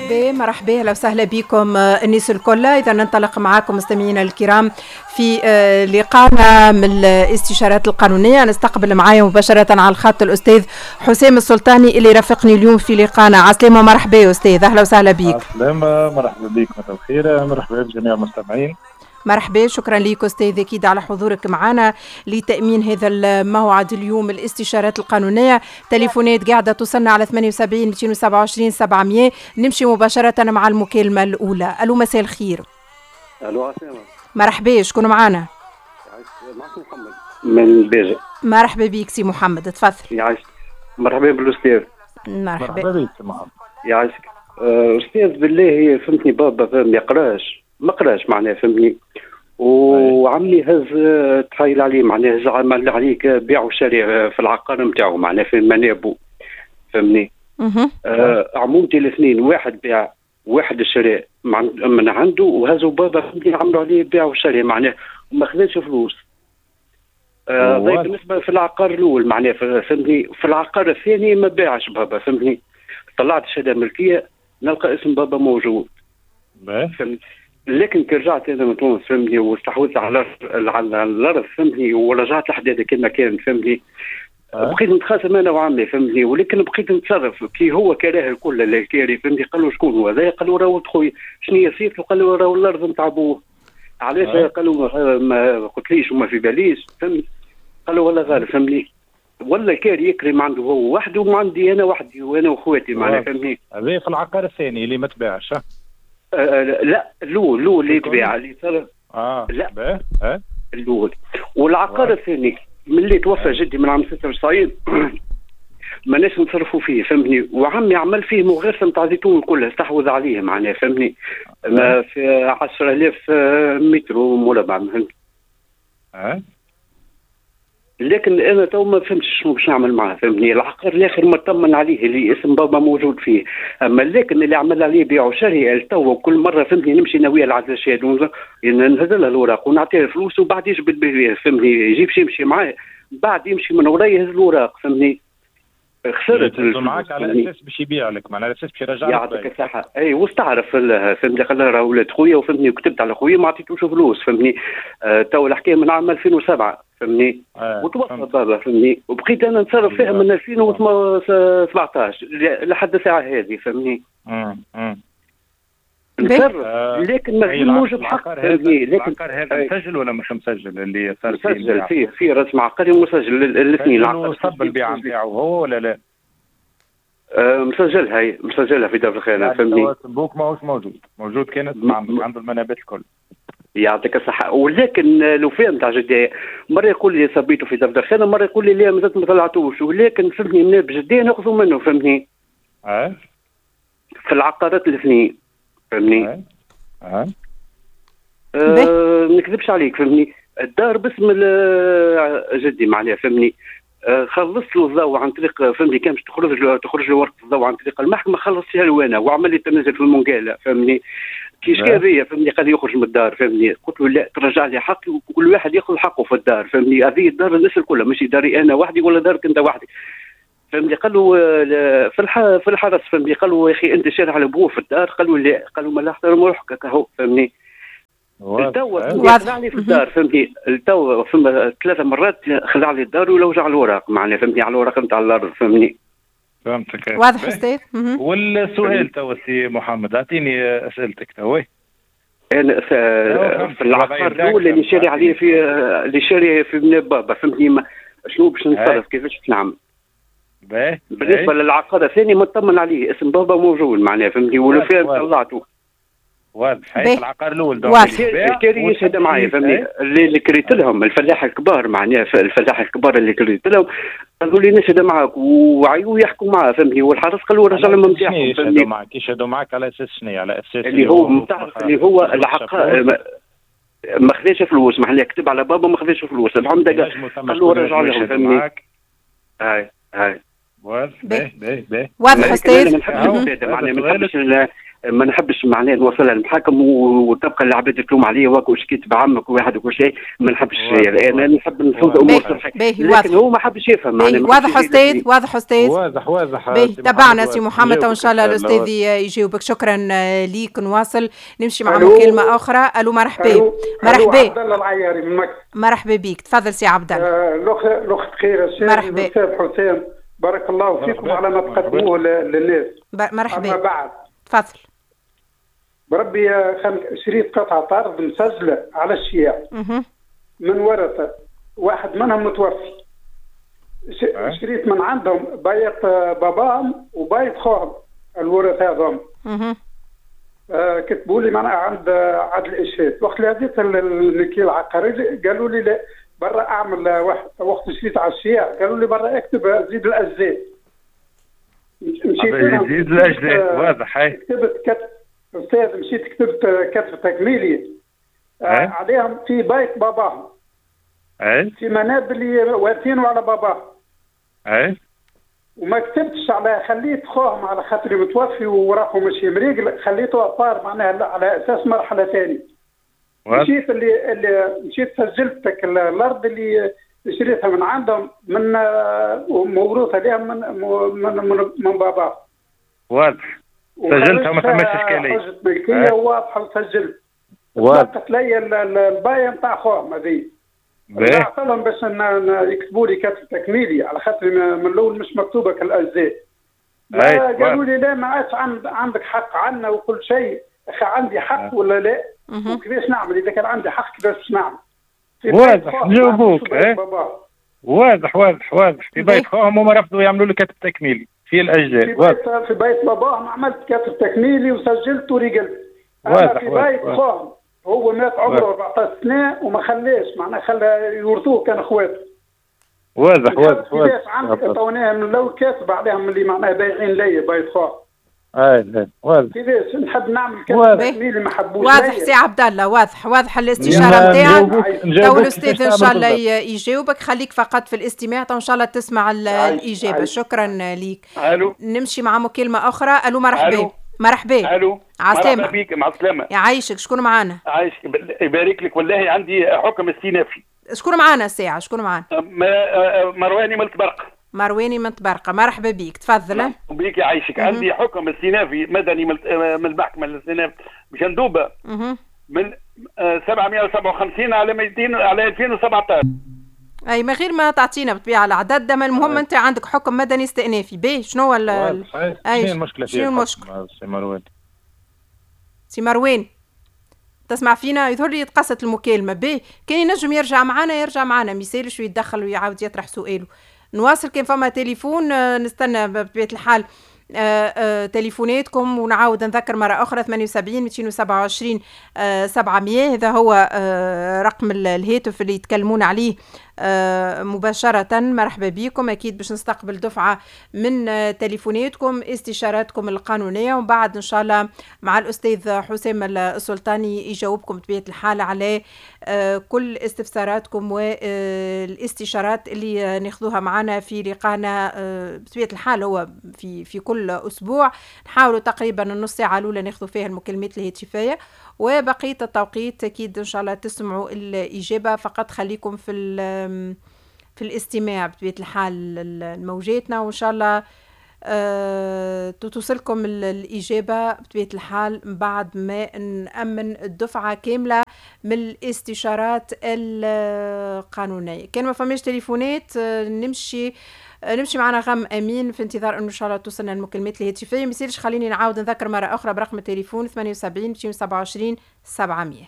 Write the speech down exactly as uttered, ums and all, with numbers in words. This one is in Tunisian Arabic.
مرحبا مرحبا، اهلا وسهلا بكم الناس الكل. اذا ننطلق معاكم مستمعينا الكرام في لقانا من الاستشارات القانونيه. نستقبل معايا مباشرة على الخط الاستاذ حسام السلطاني اللي رافقني اليوم في لقانا. عسلامة، مرحبا يا استاذ، اهلا وسهلا بك. عسلامة، مرحبا بك، مساء الخير، مرحبا بجميع المستمعين. مرحبا، شكرا لك استاذ اكيد على حضورك معنا لتامين هذا الموعد اليوم الاستشارات القانونيه. تليفونات قاعدة توصلنا على ثمانية وسبعين مئتين وسبعة وعشرين سبعمية. نمشي مباشرة مع المكالمة الاولى. الو، مساء الخير. الو، عسلامة. مرحبا، شكون معنا؟ معك محمد من باجة. مرحبا بك سي محمد، تفضل. يعيشك، مرحبا بالاستاذ. مرحبا. مرحبا بك سي محمد. يعيشك أه، استاذ، بالله فهمتني، بابا ما يقراش، ما قراش معناها فهمتني، وعمي هز تحايل عليه معناها، هز عمل عليه بيع وشري في العقار نتاعو معناها في منابو فهمني. آه عمومتي الاثنين، واحد بيع واحد شراء من عنده، وهزوا بابا فهمتني عملوا عليه بيع وشري معناه وما خذاش فلوس. آه بالنسبة في العقار الاول معناه فهمتني، في العقار الثاني ما باعش بابا فهمتني. طلعت شهادة ملكية نلقى اسم بابا موجود فهمتني، لكن كي رجعت انا من تونس فهمتني واستحوذت على على الارض فهمتني ورجعت الحداده كما كان فهمتني أه؟ بقيت نتخاصم انا وعمي فهمتني، ولكن بقيت نتصرف كي هو كراه الكل اللي كاري فهمتني. قال له شكون هو هذا؟ قال له راهو خويا. شنو هي صيفته؟ قال له راهو الارض نتاع بوه. علاش أه؟ قال له ما قلتليش وما في باليش فهمت. قال له والله غالب فهمني، ولا كاري يكري ما عنده هو وحده وما عندي انا وحدي وانا واخواتي معناها فهمتني. هذا في العقار الثاني اللي ما تباعش؟ آه لا، الاول الاول اللي تباع اللي صار. اه لا، اه الاول. والعقار الثاني من اللي توفى جدي من عام ستة وتسعين ماناش نتصرفوا فيه فهمتني، وعمي عمل فيه مغرسه نتاع زيتون كلها، استحوذ عليه معناها فهمتني، ما في عشرة آلاف متر مربع فهمت. اه لكن انا تو ما فهمتش شنو باش نعمل معاه فهمتني. العقار الاخر مطمن عليه اللي اسم بابا موجود فيه، اما لكن اللي عمل عليه بيع وشري تو كل مرة فهمتني نمشي انا وياه العدل الشهاد، نهز له الاوراق ونعطيه الفلوس وبعد يجبد فهمتني، يجيب يمشي معاه، بعد يمشي من وراي يهز الاوراق فهمتني. خسرت. معاك على اساس باش يبيع لك، معناها على اساس باش يرجع لك. يعطيك الصحة، اي، واستعرف فهمتني، قال راه ولاد خويا وفهمتني وكتبت على خويا ما عطيتوش فلوس فهمتني. آه تو الحكاية من عام ألفين وسبعة فهمني آه وتوفى بابا فهمني، وبقيت انا نتصرف فيها من ألفين وسبعطاش لحد الساعة هذه فهمني. نتصرف آه لكن ما موجب حق فهمني. لكن العقار هذا مسجل ولا مش مسجل اللي صار فيه؟ مسجل، فيه فيه رسم عقاري مسجل الاثنين. العقار صب البيع نتاعو هو ولا لا؟ آه مسجلها، هي مسجلها في دار الخانة يعني فهمني. بوك ماهوش موجود، موجود كانت عنده المنابت الكل. يعطيك الصحة، ولكن لو فهم تاع جدي مرة يقول لي صبيته في دفتر خانة، مرة يقول لي لا مازلت ما طلعتوش، ولكن فهمتني من بجدية ناخذوا منه فهمتني. اه في العقارات الاثنين فهمني. اه, أه. أه نكذبش عليك فهمني، الدار باسم جدي معناها فهمني. آه، خلصت له الضوء عن طريق فهمني، كان باش تخرج له تخرج له ورقة الضوء عن طريق المحكمه، خلصتها له انا وعمل لي تنازل في المنقاله فهمني. كي شكا بيا فهمني، قال يخرج من الدار فهمني. قلت له لا، ترجع لي حقي وكل واحد ياخذ حقه في الدار فهمني. هذه الدار الناس الكل، ماشي داري انا وحدي ولا دارك انت وحدك فهمني. قال له في في الحرس فهمني، قال له يا اخي انت شارع على ابوه في الدار؟ قال له لا. قال له ما لا احترم روحك هو فهمني. التو خلع لي في الدار فهمتني، التو فما ثلاث مرات خلع لي الدار ولوج على الوراق معناها فهمتني، على الوراق نتاع الارض فهمتني. فهمتك. واضح استاذ. والسؤال تو سي محمد، اعطيني اسئلتك تو. انا في العقار الاول اللي شاري عليه في اللي شاري في من بابا فهمتني، شنو باش نتصرف؟ كيفاش باش نعمل؟ بالنسبة للعقار الثاني مطمن عليه، اسم بابا موجود معناها فهمتني، ولو فيه طلعته. واضح، العقار الاول. donc الكاري يشهد معايا فهمني، اللي, اللي كريت لهم الفلاح الكبار معناها، الفلاح الكبار اللي كريت لهم قالوا لي نشهد معاك وعيوا يحكوا معاه فهمني، والحرس قالوا رجع لهم نتاعهم. يشهدوا معاك، يشهدوا معاك على اساس شنو؟ على اساس اللي هو اللي هو العقار ما خذاش فلوس معناها، كتب على بابا ما خذاش فلوس، العمدة قالوا رجعوا لهم فهمني. هاي هاي. واضح. باهي باهي واضح استاذ. ما نحبش معناها ما نحبش ما نحبش معناها نوصلها للمحاكم وتبقى العباد تلوم عليا واك شكيت بعمك وواحد وكل شيء، ما نحبش. انا نحب نفوز امور صحيحه، لكن هو ما حبش يفهم. معناها واضح استاذ، واضح استاذ، واضح واضح. باهي تابعنا سي محمد وان شاء الله الاستاذ يجاوبك. شكرا ليك. نواصل نمشي مع مكالمة اخرى. الو مرحبا. مرحبا. عبد الله العياري من مكة. مرحبا بك، تفضل سي عبد الله. الاخت خير. مرحبا. استاذ حسام بارك الله فيكم على ما تقدموه للناس. مرحبا. اما بعد تفضل. بربي شريت قطعة أرض مسجلة على الشياع من ورثة واحد منهم متوفي. شريت من عندهم بايت باباهم وبايت خوهم الورثة هذم. آه كتبوا لي معناها عند عدل الإشهاد. وقت اللي هزيت الملكية العقارية قالوا لي لا برا أعمل واحد. وقت شريت على الشياع قالوا لي برا اكتب زيد الأجزاء. مشيت زيد الأجزاء واضح. كتبت كتب استاذ، مشيت كتبت كتب تكميلي آه عليهم في بيت باباهم. اي في منابل اللي وارثينه على باباهم. اي وما كتبتش على، خليت خوهم على خاطري متوفي وراحوا ماشي مريقل، خليته à part معناها على اساس مرحلة ثانية. مشيت اللي اللي مشيت سجلت الارض اللي شريتها من عندهم من موروثه لهم من من من, من باباهم. واضح. سجلتها وما فماش اشكالية. حجه ملكية واضحة وسجلت. واضح. لي البايه نتاع خوهم هذه. بعث لهم باش يكتبوا لي كتب تكميلي على خاطر من الاول مش مكتوبة كالاجزاء. قالوا لي لا ما عادش عندك حق عنا وكل شيء. اخي عندي حق ولا لا؟ وكيفاش نعمل اذا كان عندي حق كيفاش نعمل؟ واضح نجاوبوك. واضح واضح واضح. في بيت خوهم هما رفضوا يعملوا لك كتب تكميلي في الاجزاء. في بيت, في بيت باباهم عملت كتب تكميلي وسجلت ورجلت. واضح. في بيت خوهم هو مات عمره أربعطاش سنة وما خلاش معناها خلى يورثوه كان اخواته. واضح واضح واضح. كيفاش عندك عطوناها من الاول كاتب عليهم اللي معناها بايعين لي بيت خوهم. اي واضح. كيفاش نحب نعمل كتب تكميلي ما حبوش. واضح سي عبد الله، واضح واضح الاستشارة نتاعك. تو الاستاذ ان شاء الله يجاوبك، خليك فقط في الاستماع تو ان شاء الله تسمع الاجابة. شكرا ليك. الو. نمشي مع مكالمة اخرى. الو مرحبا. مرحبا. الو. عسلامة. مرحبا بك. مع السلامة. يعيشك. شكون معانا؟ عايشك يبارك لك. والله عندي حكم استئنافي. شكون معانا الساعة؟ شكون معانا؟ مرواني من طبرقه. مرواني من طبرقه، مرحبا بيك، تفضل. بيك يعيشك. عندي حكم استئنافي مدني من المحكمة الاستئناف بجندوبه من سبعمية وسبعة وخمسين على مئتين على ألفين وسبعطاش. اي من غير ما تعطينا بالطبيعة العدد، ما المهم انت عندك حكم مدني استئنافي. باهي شنو هو اي شنو المشكلة؟ شنو المشكلة؟ سي مروان. سي مروان تسمع فينا؟ يظهر لي تقصت المكالمة. باهي كان ينجم يرجع معنا يرجع معنا، ما يسالش ويتدخل ويعاود يطرح سؤاله. نواصل كان فما تليفون نستنى بطبيعة الحال آه آه تليفوناتكم، ونعاود نذكر مرة أخرى ثمانية وسبعين مئتين وسبعة وعشرين آه سبعمية، هذا هو آه رقم الهاتف اللي يتكلمون عليه آه مباشرة. مرحبا بكم، أكيد باش نستقبل دفعة من آه تليفوناتكم استشاراتكم القانونية، ومن بعد إن شاء الله مع الأستاذ حسام السلطاني يجاوبكم بطبيعة الحال على آه كل استفساراتكم والاستشارات اللي ناخذوها معنا في لقانا آه بطبيعة الحال هو في في كل أسبوع. نحاولوا تقريبا النص ساعة الأولى ناخذ فيها المكالمات الهاتفية، وبقية التوقيت أكيد إن شاء الله تسمعوا الإجابة. فقط خليكم في في الاستماع بطبيعة الحال لموجاتنا، وإن شاء الله أه توصلكم الإجابة بطبيعة الحال بعد ما نأمن الدفعة كاملة من الاستشارات القانونية. كان ما فماش تليفونات نمشي نمشي معنا غم أمين في انتظار أنه إن شاء الله توصلنا المكالمات الهاتفية. ما يصيرش خليني نعاود نذكر مرة أخرى برقم التليفون ثمانية وسبعين مئتين وسبعة وعشرين سبعمية.